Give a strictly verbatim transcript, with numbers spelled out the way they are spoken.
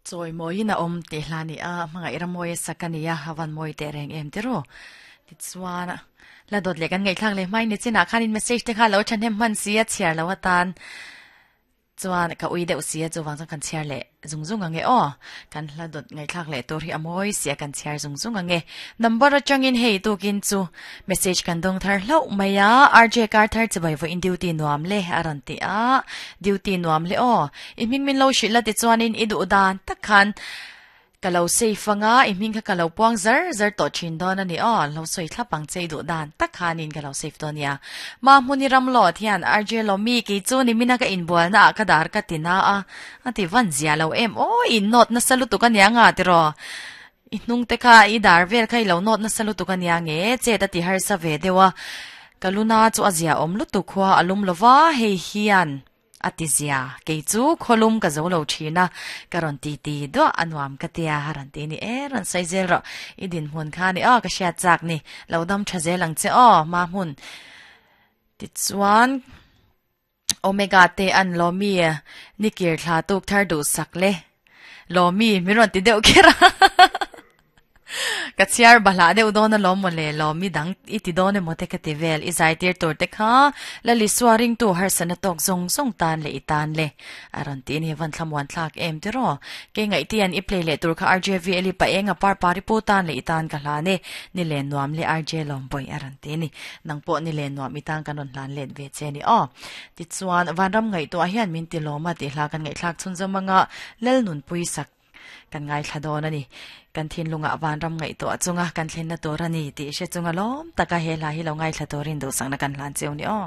Chawi mawiin a awm tih hla a ni a, hmangaih ramawi a sak a ni a, a van mawi teh reng em ti ru. Tichuan la dawt leh kan ngaihthlak leh hmain ni chinah khanin message te kha lo thahnem hman si a chhiar lo atan chuan ka ui deuh si a chuvang chuan kan chhiar leh zung zung ang e aw. Kan hla dawt ngaihthlak leh tur hi a mawi si a kan chhiar zung zung ang e. Number atangin hei tukin chu message kan dawng thar hlauh mai a, R J kar thar chibai vawiin duty nuam le a rawn ti a, duty nuam le aw. I hming min lo hrilh la tichuanin i duh dan tak khan ka lo safe anga i hming kha ka lo puang zar zar tawh thin dawn a ni aw. Lo sawi thlap ang che i duh dan tak khanin ka lo safe dawn nia. Ma hmuni ram lo thian R J Lomi kei chu ni mina ka inbualna ah ka dar ka ti na a, a ti van zia lo em aw in nawt nasa lutuk a nia nga tiraw. I hnung te kha i dar vel kha i lo nawt nasa lutuk a nia nge chet a ti harsa ve deuh a. Ka luna chu a zia awm lutuk khua a lum lova hei hian a ti zia kei chu khawlum ka zo lo thin a ka rawn ti ti duah a nuam ka tia a rawn ti ni e rawn sawi zel rawh i dinhmun kha ni aw ka hriat chak ni lo dam tha zel ang che aw ma hmun tichuan omega te an lomi ni kir thla tuk thar duh sak le lomi mi rawn ti deuh kher a ka chhiar bahlah deuh dawn a lawm maw le lomi dang i ti dawn emaw te ka ti vel i zai tir tur te kha la lisua ringtu harsana tawk zawng zawng tan leh i tan le a rawn ti ni van thlamuan thlak em ti raw ke ngaih tian i play leh tur kha R J V L i pa enga par pari pu tan leh i tan ka hlan e ni len nuam le R J Lawmbawih a rawn ti ni nang pawh ni len nuam i tan kan rawn hlan let ve che ni aw tichuan vanram ngaihtuah hian min ti lawm a tih hla kan ngaihthlak chhunzawm anga lal nunpui sak kan ngaithla dawn a ni. Kan thinlungah vanram ngaihtuah chunga kan thlenna tur a ni tih hre chunga lawm taka he hla hi lo ngaithla turin duhsakna kan hlan cheu ni aw.